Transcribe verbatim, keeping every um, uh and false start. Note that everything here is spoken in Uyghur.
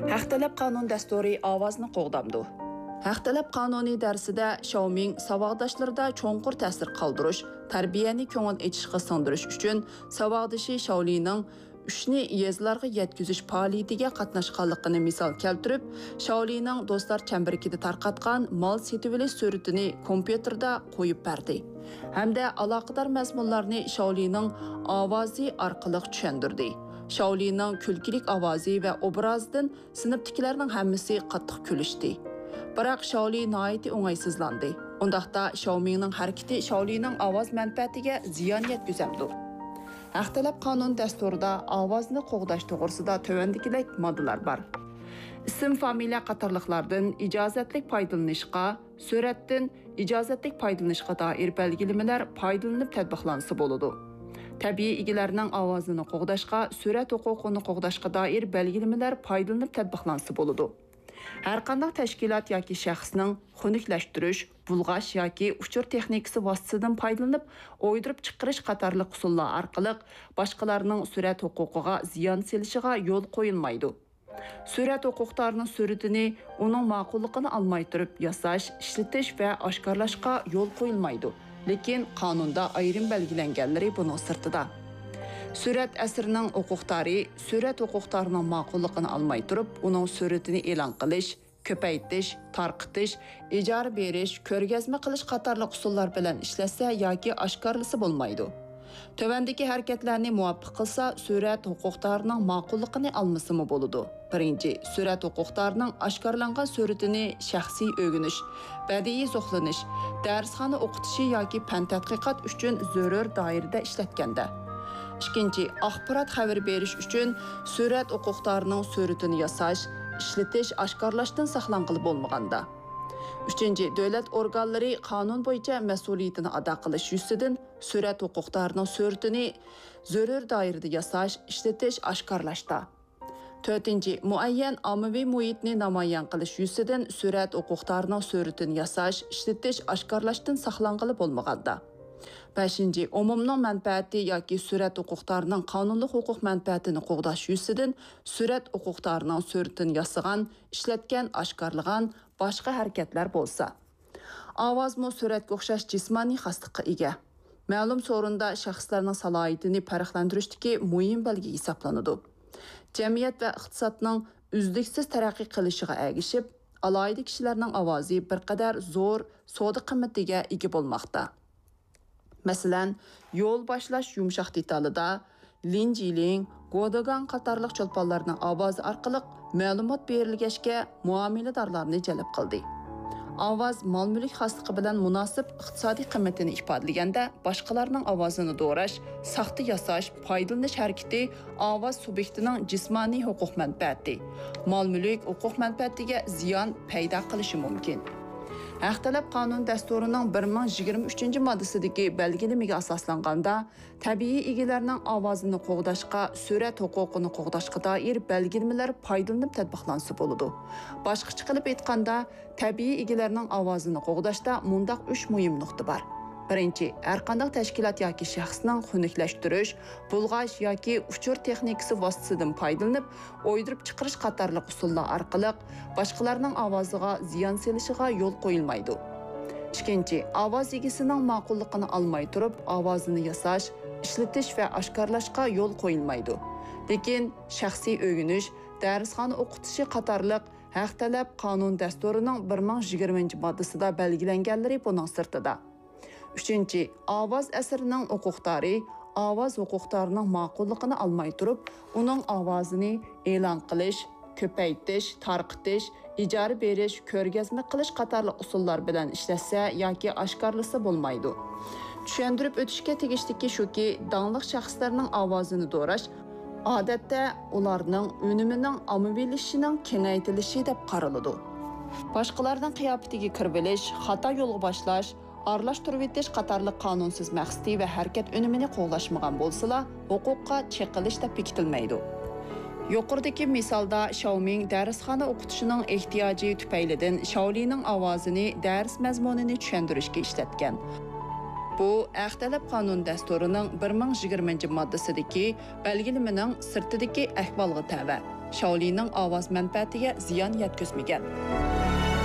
ھەق تەلەپ قانۇن دەستۇرى ئاۋازنى قوغدامدۇ؟ ھەق تەلەپ قانۇنى دەرسىدە شياۋمىڭ ساۋاقداشلىرىدا چوڭقۇر تەسىر قالدۇرۇش، تەربىيەنى كۆڭۈل ئېچىشقا سىڭدۈرۈش ئۈچۈن ساۋاقدىشى شياۋلىنىڭ ئۈچنى يېزىلارغا يەتكۈزۈش پائالىيىتىگە قاتناشقانلىقىنى مىسال كەلتۈرۈپ، شياۋلىنىڭ دوستلار چەمبىرىكىدە تارقاتقان مال سېتىۋېلىش سۈرىتىنى كومپيۇتېردا قويۇپ بەردى ھەمدە ئالاقىدار مەزمۇنلارنى شياۋلىنىڭ ئاۋازى ئارقىلىق چۈشەندۈردى. شياۋلىنىڭ كۈلكىلىك ئاۋازى ۋە ئوبرازىدىن سىنىپتىكىلەرنىڭ ھەممىسى قاتتىق كۈلۈشتى. بىراق شياۋلى ناھايىتى ئوڭايسىزلاندى. ئۇنداقتا شياۋمىڭنىڭ ھەرىكىتى شياۋلىنىڭ ئاۋاز مەنپەئەتىگە زىيان يەتكۈزەمدۇ؟ ھەق تەلەپ قانۇن دەستۇرىدا ئاۋازنى قوغداش توغرىسىدا تۆۋەندىكىدەك ماددىلار بار. ئىسىم، فامىلە قاتارلىقلاردىن ئىجازەتلىك پايدىلىنىشقا، سۈرەتتىن ئىجازەتلىك پايدىلىنىشقا دائىر بەلگىلىمىلەر پايدىلىنىپ تەتبىقلانسا بولىدۇ. تەبىئىي ئىگىلەرنىڭ ئاۋازىنى قوغداشقا، سۈرەت ھوقۇقىنى قوغداشقا دائىر بەلگىلىمىلەر پايدىلىنىپ تەتبىقلانسا بولىدۇ. ھەرقانداق تەشكىلات ياكى شەخسنىڭ خۇنۈكلەشتۈرۈش، بۇلغاش ياكى ئۇچۇر تېخنىكىسى ۋاسىتىسىدىن پايدىلىنىپ، ئويدۇرۇپ چىقىرىش قاتارلىق ئۇسۇللار ئارقىلىق باشقىلارنىڭ سۈرەت ھوقۇقىغا زىيان سېلىشىغا يول قويۇلمايدۇ. سۈرەت ھوقۇقدارىنىڭ سۈرىتىنى ئۇنىڭ ماقۇللۇقىنى ئالماي تۇرۇپ ياساش، ئىشلىتىش ۋە ئاشكارىلاشقا يول قويۇلمايدۇ، لېكىن قانۇندا ئايرىم بەلگىلەنگەنلىرى بۇنىڭ سىرتىدا. سۈرەت ئەسىرىنىڭ ھوقۇقدارى سۈرەت ھوقۇقدارىنىڭ ماقۇللۇقىنى ئالماي تۇرۇپ، ئۇنىڭ سۈرىتىنى ئېلان قىلىش، كۆپەيتىش، تارقىتىش، ئىجارە بېرىش، كۆرگەزمە قىلىش قاتارلىق ئۇسۇللار بىلەن ئىشلەتسە ياكى ئاشكارىلىسا بولمايدۇ. تۆۋەندىكى ھەرىكەتلەرنى مۇۋاپىق قىلسا، سۈرەت ھوقۇقدارىنىڭ ماقۇللۇقىنى ئالمىسىمۇ بولىدۇ. بىرىنچى، سۈرەت ھوقۇقدارىنىڭ ئاشكارىلانغان سۈرىتىنى شەخسىي ئۆگىنىش، بەدىئىي زوقلىنىش، دەرسخانا ئوقۇتۇشى ياكى پەن تەتقىقات ئۈچۈن زۆرۈر دائىرىدە ئىشلەتكەندە. ئىككىنچى، ئاخبارات خەۋىرى بېرىش ئۈچۈن سۈرەت ھوقۇقدارىنىڭ سۈرىتىنى ياساش، ئىشلىتىش، ئاشكارىلاشتىن ساقلانغىلى بولمىغاندا. ئۈچىنچى، دۆلەت ئورگانلىرى قانۇن بويىچە مەسئۇلىيىتىنى ئادا قىلىش يۈزىسىدىن سۈرەت ھوقۇقدارىنىڭ سۈرىتىنى زۆرۈر دائىرىدە ياساش، ئىشلىتىش، ئاشكارىلاشتا. تۆتىنچى، مۇئەييەن ئاممىۋى مۇھىتنى نامايان قىلىش يۈزىسىدىن سۈرەت ھوقۇقدارىنىڭ سۈرىتىنى ياساش، ئىشلىتىش، ئاشكارىلاشتىن ساقلانغىلى بولمىغاندا. بەشىنچى، ئومۇمنىڭ مەنپەئەتى ياكى سۈرەت ھوقۇقدارىنىڭ قانۇنلۇق ھوقۇق مەنپەئەتىنى قوغداش يۈزىسىدىن سۈرەت ھوقۇقدارىنىڭ سۈرىتىنى ياسىغان، ئىشلەتكەن، ئاشكارىلىغان باشقا ھەرىكەتلەر بولسا. ئاۋازمۇ سۈرەتكە ئوخشاش جىسمانىي خاسلىققا ئىگە. مەلۇم سورۇندا شەخسلەرنىڭ سالاھىيىتىنى پەرقلەندۈرۈشتىكى مۇھىم بەلگە ھېسابلىنىدۇ. جەمئىيەت ۋە ئىقتىسادنىڭ ئۈزلۈكسىز تەرەققىي قىلىشىغا ئەگىشىپ، ئالاھىدە كىشىلەرنىڭ ئاۋازى بىر قەدەر زور سودا قىممىتىگە ئىگە بولماقتا. مەسىلەن، يول باشلاش يۇمشاق دېتالىدا لىن جىلىڭ، گودېگاڭ قاتارلىق چولپانلارنىڭ ئاۋازى ئارقىلىق مەلۇمات بېرىلگەچكە، مۇئامىلىدارلارنى جەلپ قىلدى. ئاۋاز مال-مۈلۈك خاسلىقى بىلەن مۇناسىپ ئىقتىسادىي قىممىتىنى ئىپادىلىگەندە، باشقىلارنىڭ ئاۋازىنى دوراش، ساختا ياساش، پايدىلىنىش ھەرىكىتى ئاۋاز سۇبيېكتىنىڭ جىسمانىي ھوقۇق مەنپەئەتى، مال-مۈلۈك ھوقۇق مەنپەئەتىگە زىيان پەيدا قىلىشى مۇمكىن. ھەق تەلەپ قانۇن دەستۇرىنىڭ بىر مىڭ يىگىرمە ئۈچىنچى ماددىسىدىكى بەلگىلىمىگە ئاساسلانغاندا، تەبىئىي ئىگىلەرنىڭ ئاۋازىنى قوغداشقا، سۈرەت ھوقۇقىنى قوغداشقا دائىر بەلگىلىمىلەر پايدىلىنىپ تەتبىقلانسا بولىدۇ. باشقىچە قىلىپ ئېيتقاندا، تەبىئىي ئىگىلەرنىڭ ئاۋازىنى قوغداشتا مۇنداق ئۈچ مۇھىم نۇقتا بار. بىرىنچى، ھەرقانداق تەشكىلات ياكى شەخسنىڭ خۇنۈكلەشتۈرۈش، بۇلغاش ياكى ئۇچۇر تېخنىكىسى ۋاسىتىسىدىن پايدىلىنىپ، ئويدۇرۇپ چىقىرىش قاتارلىق ئۇسۇللار ئارقىلىق باشقىلارنىڭ ئاۋازىغا زىيان سېلىشىغا يول قويۇلمايدۇ. ئىككىنچى، ئاۋاز ئىگىسىنىڭ ماقۇللۇقىنى ئالماي تۇرۇپ، ئاۋازىنى ياساش، ئىشلىتىش ۋە ئاشكارىلاشقا يول قويۇلمايدۇ. لېكىن شەخسىي ئۆگىنىش، دەرسخانا ئوقۇتۇشى قاتارلىق ھەق تەلەپ قانۇن دەستۇرىنىڭ بىر مىڭ يىگىرمىنچى ماددىسىدا بەلگىلەنگەنلىرى بۇنىڭ سىرتىدا. ئۈچىنچى، ئاۋاز ئەسىرىنىڭ ھوقۇقدارى ئاۋاز ھوقۇقدارىنىڭ ماقۇللۇقىنى ئالماي تۇرۇپ، ئۇنىڭ ئاۋازىنى ئېلان قىلىش، كۆپەيتىش، تارقىتىش، ئىجارە بېرىش، كۆرگەزمە قىلىش قاتارلىق ئۇسۇللار بىلەن ئىشلەتسە ياكى ئاشكارىلىسا بولمايدۇ. چۈشەندۈرۈپ ئۆتۈشكە تېگىشلىكى شۇكى، داڭلىق شەخسلەرنىڭ ئاۋازىنى دوراش، ئادەتتە، ئۇلارنىڭ ئۈنۈمىنىڭ ئاممىۋىلىشىشىنىڭ كېڭەيتىلىشى دەپ قارىلىدۇ. باشقىلارنىڭ قىياپىتىگە كىرىۋېلىش، خاتا يولغا باشلاش، ئارىلاشتۇرۇۋېتىش قاتارلىق قانۇنسىز مەقسىتى ۋە ھەرىكەت ئۈنۈمىنى قوغلاشمىغان بولسىلا، ھوقۇققا چېقىلىش دەپ بېكىتىلمەيدۇ. يۇقىرىدىكى مىسالدا شياۋمىڭ دەرسخانا ئوقۇتۇشىنىڭ ئېھتىياجى تۈپەيلىدىن شياۋلىنىڭ ئاۋازىنى دەرس مەزمۇنىنى چۈشەندۈرۈشكە ئىشلەتكەن. بۇ ھەق تەلەپ قانۇن دەستۇرىنىڭ بىر مىڭ يىگىرمىنچى ماددىسىدىكى بەلگىلىمىنىڭ سىرتىدىكى ئەھۋالغا تەۋە. شاۋلىنىڭ ئاۋاز مەنپەئەتىگە زىيان يەتكۈزمىگەن.